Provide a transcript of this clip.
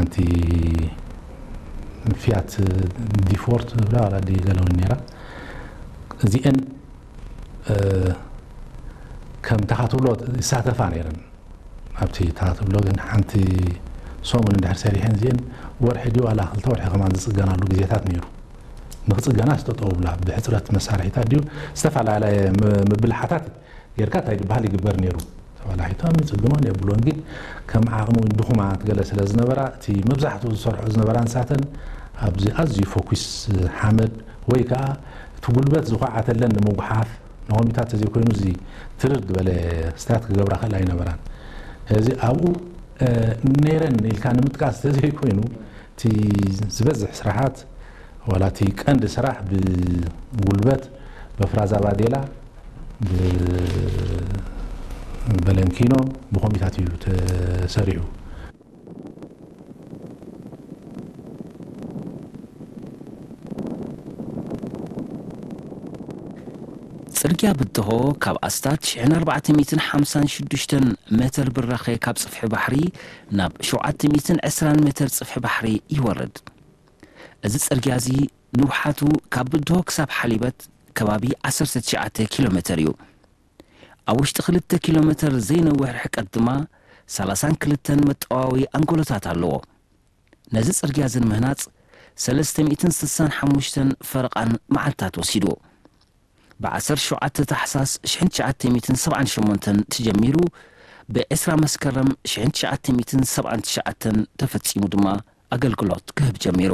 ሓንቲ ፊያት ዲፎርት ብላ ዋላ ዲ ገለውን ነይራ። እዚአን ከም ተኻትብሎ ይሳተፋ ነይረን። ኣብቲ ተኻትብሎ ግን ሓንቲ ሰሙን እንድሕር ሰሪሐን እዚአን ወርሒ ድዩ ዋላ ክልተ ወርሒ ከማን ዝፅገናሉ ግዜታት ነይሩ። ንክፅገና ዝተጠውብላ ብሕፅረት መሳርሒታት ድዩ ዝተፈላለየ ምብልሓታት ጌርካ እንታይ ዝበሃል ይግበር ነይሩ። ተባላሒቶም ይፅግኖን የብሎን ግን ከም ዓቕሚ ድኹማት ገለ ስለ ዝነበራ እቲ መብዛሕትኡ ዝሰርሖ ዝነበራ ንሳተን ኣብዚ ኣዝዩ ፎኩስ ሓመድ ወይ ከዓ እቲ ጉልበት ዝኳዓተለን ንምጉሓፍ ንሆሚታት ተዘይኮይኑ እዚ ትርር ዝበለ ስታት ክገብራ ክእል ኣይነበራን። እዚ ኣብኡ ነይረን ኢልካ ንምጥቃስ ተዘይኮይኑ እቲ ዝበዝሕ ስራሓት ዋላ እቲ ቀንዲ ስራሕ ብጉልበት በፍራዛ ባዴላ ብበለንኪኖ ብኮሚታት እዩ ተሰሪሑ። ጽርግያ ብድሆ ካብ ኣስታት ሽሕን ኣርባዕተ ሚእትን ሓምሳን ሽዱሽተን ሜተር ብራኸ ካብ ጽፍሒ ባሕሪ ናብ ሸውዓተ ሚእትን ዕስራን ሜተር ጽፍሒ ባሕሪ ይወርድ። እዚ ጽርግያ እዚ ንውሓቱ ካብ ብድሆ ክሳብ ሓሊበት ከባቢ ዓሰርተ ትሽዓተ ኪሎ ሜተር እዩ። ኣብ ውሽጢ ክልተ ኪሎ ሜተር ዘይነውሕ ርሕቀት ድማ ሰላሳን ክልተን መጠዋዊ ኣንጎሎታት ኣለዎ። ነዚ ጽርግያ እዚ ንምህናጽ ሰለስተ ሚእትን ስሳን ሓሙሽተን ፈረቓን መዓልታት ወሲድዎ። ብ ዓሰርተ ሸውዓተ ታሕሳስ ሽሕን ትሽዓተ ሚእትን ሰብዓን ሸሞንተን ተጀሚሩ ብ ዕስራ መስከረም ሽሕን ትሽዓተ ሚእትን ሰብዓን ትሽዓተን ተፈጺሙ ድማ ኣገልግሎት ክህብ ጀሚሩ።